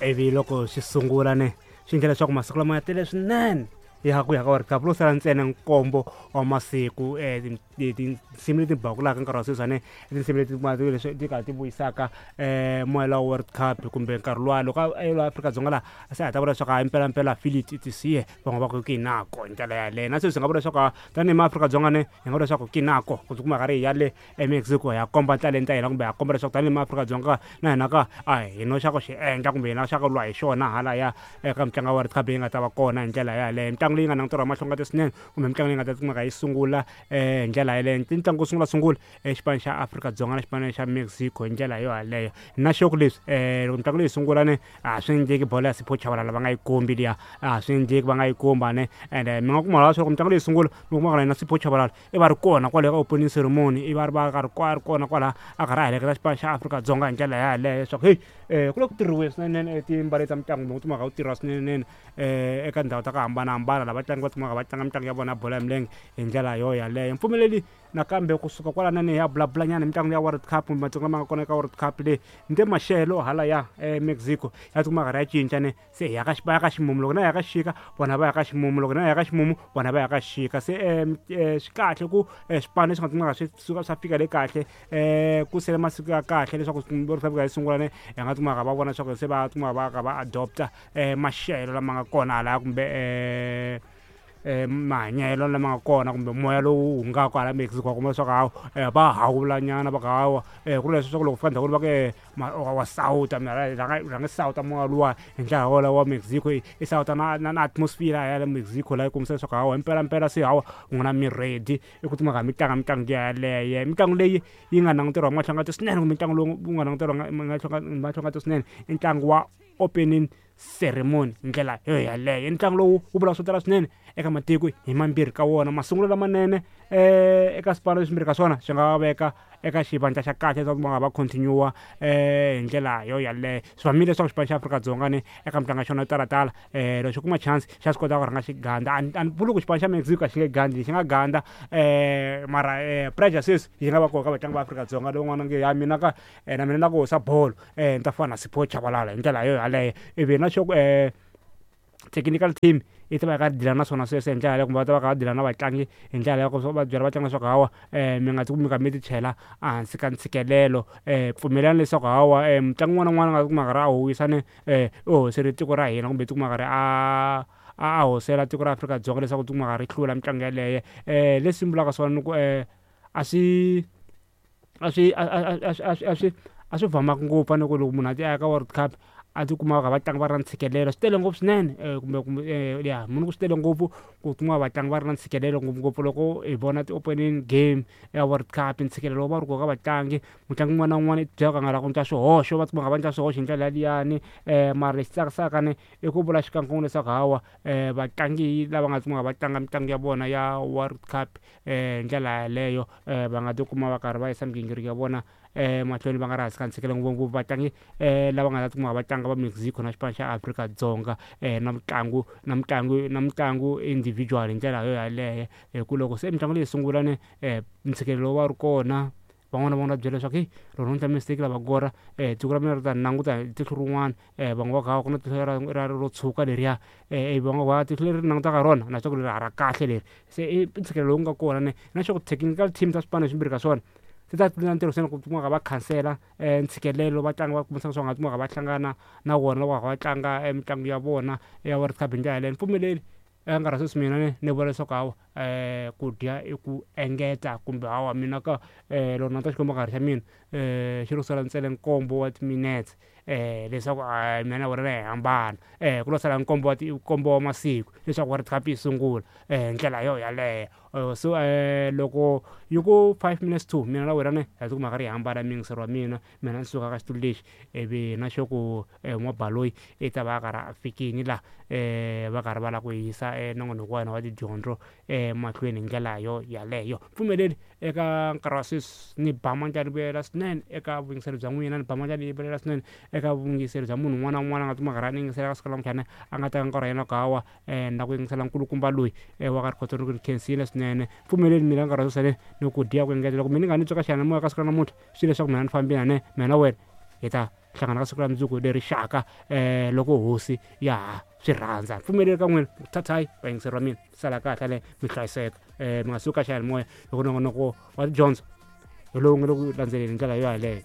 Ivi loko swi sungula ne swi endla leswaku masiku lama ya tele swinene ya ku ya ka World Cup lo sala ntsena nkombo wa masiku. Tinsimu leti bakulaka nkarhi wa sweswi ane i tinsimu leti leswi ti karhi ti vuyisaka moya wa World Cup kumbe nkarhi luwa loko a la Afrika-Dzonga laha se a ta vula leswaku hayi mpelampela feel it it is here. Van'wana va ku ki nako hi ndlela yaleyo na sweswi hi nga vula leswaku tanihi maAfrika-Dzonga ne hi nga vula leswaku ki nako ku tikuma karhi hi ya le eMexico hi ya komba talenta ya hina kumbe ya komba leswaku tanihi maAfrika-Dzonga na hina ka a hi no xa ku xi endla kumbe hina xa ku lwa hi xona halaya eka mitlangu ya World Cup leyi nga ta va kona hi ndlela yaleyo. Mitlangu leyi nga languteriwa hi mahlongati swinene kumbe mitlangu leyi nga ta kumeka yi sungula hi ndlela yaleyo i ntlangu wo sungula sungula xipano xa Afrika-Dzonga na xipano xa Mexico hi ndlela yo yaleyo. Na xo ku leswi loko mitlangu leyi sungula ni a swi endleki bolo ya Sipho Chabalala va nga yi kombi liya a swi endleki va nga yi komba ne ende mi nga kuma leswaku mitlangu leyi sungula mi kuma na yena Sipho Chabalala i va ri kona kwale ka opening ceremony i va ri va karhi a ri kona kwala a karhi a heleketa xipano xa Afrika-Dzonga hi ndlela yaleyo leswaku heyi ku le ku tirhiweni swinene timbali ta mitlangu kumbe ku timhaka ku tirha swinene eka tindhawu ta ku hambanahambana lava vatlangi va kumaka va tlanga mitlangu ya vona ya bolo ya milenge hi ndlela yo yaleyo. Mpfumeleli nakambe kusuka kwalanani hi ya vulavulanyana hi mitlangu ya World Cup kumbe matsonga lama nga kona eka World Cup leyi ni te maxelo halaya eMexico ya tikuma karhi ya cinca ne se hi ya ka va ya ka ximumu loko na ya ka xixika vona va ya ka ximumu loko na ya ka ximumu vona va ya ka xixika. Se swi kahle ku swipano leswi nga kumeka swi suka swa fika le kahle ku sele masiku ya kahle leswaku World Cup yi sungula ne hi nga kumaka va vona leswaku se va kumaka va ka va adopt-a maxelo lama nga kona halaya kumbe mahanyelo lama nga kona kumbe moya lowu hungaka hala Mexico wa kuma leswaku hawa va hawula nyana va ku hawa ku ri leswaku loko fika ndhawini va ku wa sawuta rhanga sawuta moya luwa hi ndlela wolowo wa Mexico i sawuta na na na atmosphere ya le Mexico laha yi kombisa leswaku hawa himpelampela se hawa n'wina mi ready i ku timhaka mi tlanga mitlangu yaleyo. Mitlangu leyi yi nga languteriwa hi mahlongati swinene kumbe ntlangu lowu wu nga languteriwa mahlongati swinene i ntlangu wa opening ceremony hi ndlela yo yaleyo. I ntlangu lowu wu vulaka swo tala swinene eka matiko hi mambirhi ka wona masungulo lamanene eka swipano leswimbirhi ka swona swi nga veka eka xivandla xa kahle leswaku va nga va continue hi ndlela yo yaleyo. Swi vamile leswaku xipano xa Afrika-Dzonga ni eka mitlangu ya xona yo talatala loko xo kuma chance xa swi kota ku rhanga xi gandla. A ni vuli ku xipano xa Mexico a xi nge gandli xi nga gandla mara pressure sweswi yi nga va kona ka vatlangi va Afrika-Dzonga lowun'wana nge ya mina ka na mina na ku hoxa bolo ni ta fana na Sipho Chabalala hi ndlela yo yaleyo ivi na xo ku technical team yi ta va yi karhi deal-a na swona sweswo hi ndlela yaleyo kumbe va ta va kha va deal-a na vatlangi hi ndlela ya ku va byela vatlangi leswaku hawa mi nga tikumi mi kha mi ti chela ehansi ka ntshikelelo pfumelelani leswaku hawa mutlangi un'wana na un'wana a nga tikuma a karhi a howisa ne u howisele tiko ra hina kumbe tikuma a karhi a hosela tiko ra Afrika-Dzonga leswaku tikuma karhi ri hlula mitlangu yaleyo leswi vulaka swona ni ku a swi a swi a a a a swi a swi a swi vamanga ngopfu a ni ku loko munhu a ti a ya ka World Cup a tikuma va kha va tlanga va ri na ntshikelelo swi tele ngopfu swinene kumbe kumbe ya munhu ku swi tele ngopfu ku kuma vatlangi va ri na ntshikelelo ngopfungopfu loko hi vona ti-opening game ya World Cup ntshikelelo wu va wu ri kona ka vatlangi. Mutlangi un'wana na un'wana i tibyela ku a nga lavi ku endla swihoxo va tikuma va kha va endla swihoxo hi ndlela liyani mara lexi tsakisaka ni i ku vula xikan'we leswaku hawa vatlangi lava nga tikuma va tlanga mitlangu ya vona ya World Cup hi ndlela yaleyo va nga tikuma va karhi va yisa migingiriko ya vona emahlweni va nga ri hansi ka ntshikelelo ngopfungopfu vatlangi lava nga ta tikuma va tlanga va Mexico na xipano xa Afrika-Dzonga na mitlangu na mitlangu na mitlangu individual hi ndlela yo yaleyo hi ku loko se mitlangu leyi sungula ni ntshikelelo wu va wu ri kona. Van'wana va vona va byela leswaku heyi loko no endla mistake lava kora tiko ra mina ri ta ni languta hi tihlo rin'wana van'we va ku hawa ku na tihlo ra ra ro tshuka leriya ivi van'wana va tihlo leri ni langutaka rona na swa ku leri a ra kahle leri se i ntshikelelo lowu nga kona ne na swa ku technical team ta swipano swimbirhi ka swona ti ta na ntirho swinene ku kumeka va khansela ntshikelelo vatlangi va kumisaka swa nga kumeka va hlangana na wona loko va tlanga mitlangu ya vona ya World Cup hi ndlela yaleyo ni pfumeleli. Eka nkarhi wa sweswi mina ni ni vula leswaku hawa ku dya i ku engeta kumbe hawa mina ka loko ni languta xikombankarhi xa mina xi lo sala ntsena nkombo wa timinetse leswaku a mina na wena hi hambana ku lo sala nkombo wa nkombo wa masiku leswaku World Cup yi sungula hi ndlela yo yaleyo. So loko yi ku five minutes to mina na wena ne ha tikuma hi karhi hi hambana muyingiseri wa mina. Mina ni suka ka xitulu lexi ivi na xo ku n'wabaloyi i ta va a karhi a fikini la va karhi va lava ku yisa nongonoko wa hina wa tidyondzo emahlweni hi ndlela yo yaleyo. Pfumeleli eka nkarhi wa sweswi ni ba mandla ni vuyela swinene eka vuyingiseri bya n'wina ni ba mandla ni yimelela swinene eka vuyingiseri bya munhu un'wana na un'wana a nga tikuma a karhi a ni yingisela ka siku ra namuntlha a nga teka nkarhi wa yena ku hawa na ku yingisela nkulukumba loyi wa ka Rikhotso ni ku ni khensile swinene. Pfumeleli mina nkarhi wa sweswi ni ku dya ku engetela loko mina ni nga ni twa ka xiyanimoya ka siku ra namuntlha swi leswaku mina ni fambile ne mina na wena. Hi ta hlangana ka siku ra mundzuku leri xaka loko hosi ya ha swi rhandza. Pfumeleli ka n'wina thathayi vayingiseri va mina, sala kahle le mi hlayiseka, mi nga suki ka xiyanimoya hi ku nongonoko wa tidyondzo hi lowu nga le ku landzeleni hi ndlela yo yaleyo.